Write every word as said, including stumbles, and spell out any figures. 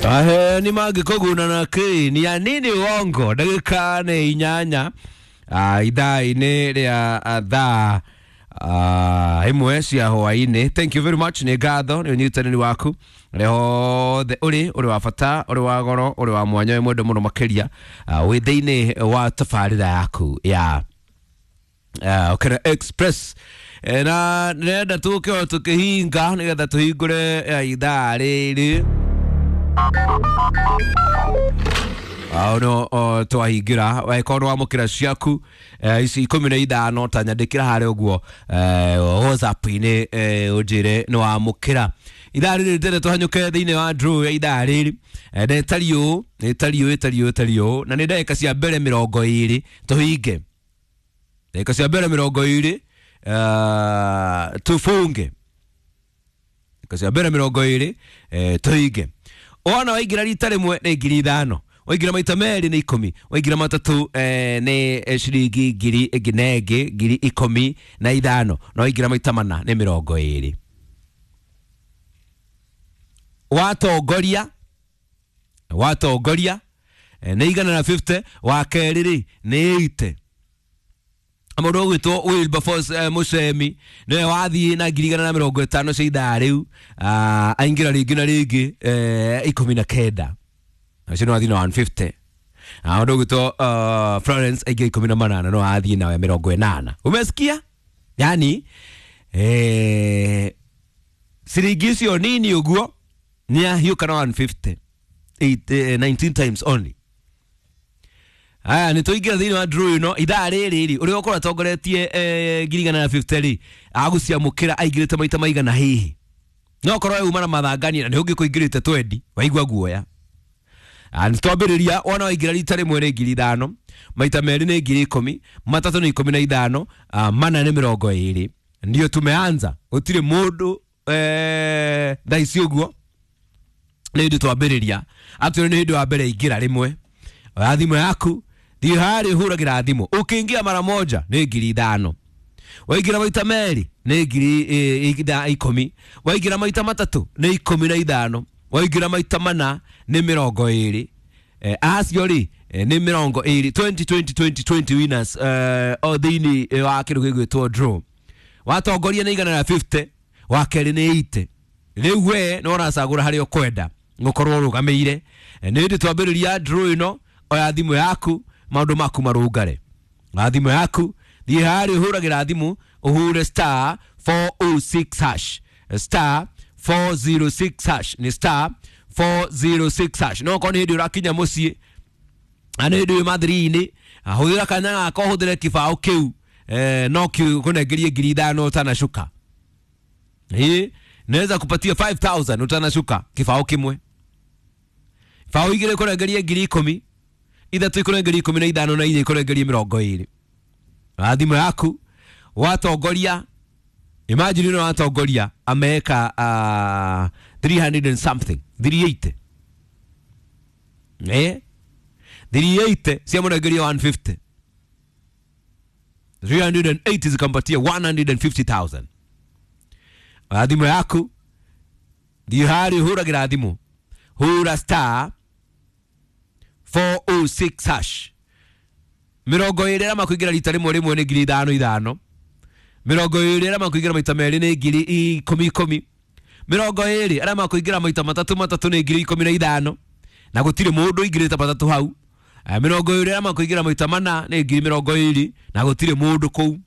Ahe ni mangĩkũguna na kĩ ni ya nini wongo ndagĩka nĩ inyanya ah, ithaa-inĩ rĩa ah, thaa ah, ĩmwe cia hwaĩ-inĩ. Thank you very much, nĩ ngatho nĩ ũnyitanĩri waku rĩ hothe ũrĩ ũrĩ wa bata, ũrĩ wa goro, ũrĩ wa mwanya, wĩ mwendo mũno makĩria ah, wĩ thĩinĩ wa tabarĩra yaku ya uh, Okena Express. Eh, na nĩrenda tũke o tũkĩhinga nĩgetha tũhingũre eh, ithaa rĩrĩ no twahingĩra wakorwo wamũkĩra ciaku eh, ici ikũmi na ithano ta nyandĩkĩra harĩa ũguo eh, WhatsApp-inĩ eh, ũnjĩre nĩ wamũkĩra ithaa rĩrĩ tene tũhanyũke thĩinĩ wa draw ya ithaa rĩrĩ. Eh, na ĩtariĩ ũũ ĩtariĩ ũũ ĩtariĩ ũũ ĩtariĩ ũũ na nĩ ndagĩka cia mbere mĩrongo ĩrĩ tũhinge ndagĩka cia mbere mĩrongo ĩrĩ uh, tufunge ndagĩka cia mbere mĩrongo ĩrĩ eh, tũhinge. Wona waingĩra rita rĩmwe nĩ ngiri ithano, waingĩra maita merĩ nĩ ikũmi, waingĩra matatũ eh, nĩ eh, ciringi ngiri ĩngĩ na ĩngĩ ngiri ikũmi na ithano, na waingĩra maita mana nĩ mĩrongo ĩrĩ. Watongoria watongoria eh, nĩ igana na fifty, wa kerĩ rĩ nĩ eighty. Mũndũ ũgwĩtwo Wilberforce eh, Mũcemi nĩwe wathiĩ na ngiri igana na mĩrongo ĩtano cia ithaa rĩu, ah, aingĩra rĩngĩ na rĩngĩ eh, ikũmi na kenda, acio nĩ wathiĩ na one fifty. Ah, mũndũ ũgwĩtwo uh, Florence aingĩra ikũmi na manana no athiĩ nawe mĩrongo ĩnana. Umesikia? Yani eh, ciringi icio nini ũguo nĩ ahiũka na one fifty eight, eh, nineteen times only. Aya nĩ tũingĩra thĩinĩ wa draw ĩno ithaa rĩrĩ rĩ ũrĩa ũkorwo atongoretie eh, ngiri igana na fifty rĩ agũciamũkĩra aingĩrĩte maita maigana hihi no korwo uma na mathangania na nĩ ũngĩ kũingĩrĩte twendi waigua guoya. Ah, nĩ twambĩrĩria wona waingĩra rita rĩmwe nĩ ngiri ithano, maita merĩ nĩ ngiri ikũmi, matatũ nĩ ikũmi na ithano, ah, mana nĩ mĩrongo ĩrĩ. Ndio tumeanza gũtirĩ mũndũ eh, thaa ici ũguo nĩ hĩndĩ twambĩrĩria. Actually nĩ hĩndĩ wa mbere ingĩra rĩmwe oya thimũ yaku thiĩ harĩa ũhũragĩra thimũ ũkĩingĩra mara moja nĩ ngiri ithano, waingĩra maita merĩ nĩ ngiri eh, itha- ikũmi, waingĩra maita matatũ nĩ ikũmi na ithano, waingĩra maita mana nĩ mĩrongo ĩrĩ. Eh, acio rĩ eh, nĩ mĩrongo ĩrĩ twenty twenty twenty twenty winners eh, o thĩinĩ eh, wa kĩndũ gĩgwĩtwo draw. Watongoria nĩ igana na fifty, wa kerĩ nĩ eighty. Rĩu we nĩ ũracagũra harĩa ũkwenda gũkorwo ũrũgamĩire. Eh, nĩ hĩndĩ twambĩrĩria draw ĩno oya thimũ yaku maũndũ maku marũngare. Oya thimũ yaku thiĩ harĩa ũhũragĩra thimũ ũhũre star four oh six hash star four zero six hash nĩ star four zero six hash. No okorwo nĩ hĩndĩ ũrakinya mũciĩ na nĩ hĩndĩ wĩ mathiri-inĩ hũthĩra kanya gaka ũhũthĩre kĩbaũ kĩu eh, no kĩkũnengerie ngiri ithano ũtanacuka. Ĩ naweza kupatia five thousand ũtanacuka kĩbaũ kĩmwe, baũ igĩrĩ kũnengerie ngiri ikũmi, ithatũ ikũnengerie ikũmi na ithano na inya ikũnengerie mĩrongo ĩrĩ. Oya thimũ yaku watongoria, imagine ĩno watongoria ameka uh, three hundred and something three eighty eh three eighty ciamũnengeria one fifty, three hundred and eighty zikampatia one hundred and fifty thousand. Oya thimũ yaku thiĩ harĩa ũhũragĩra thimũ hũra star four oh six hash mĩrongo ĩrĩ arĩa makũingĩra rita rĩmwe rĩmwe nĩ ngiri ithano ithano, mĩrongo ĩrĩ arĩa makũingĩra maita merĩ nĩ ngiri ikũmi ikũmi, mĩrongo ĩrĩ arĩa makũingĩra maita matatũ matatũ nĩ ngiri ikũmi na ithano na gũtirĩ mũndũ ũingĩrĩte matatũ hau. Eh, mĩrongo ĩrĩ arĩa makũingĩra maita mana nĩ ngiri mĩrongo ĩrĩ na gũtirĩ mũndũ kũu.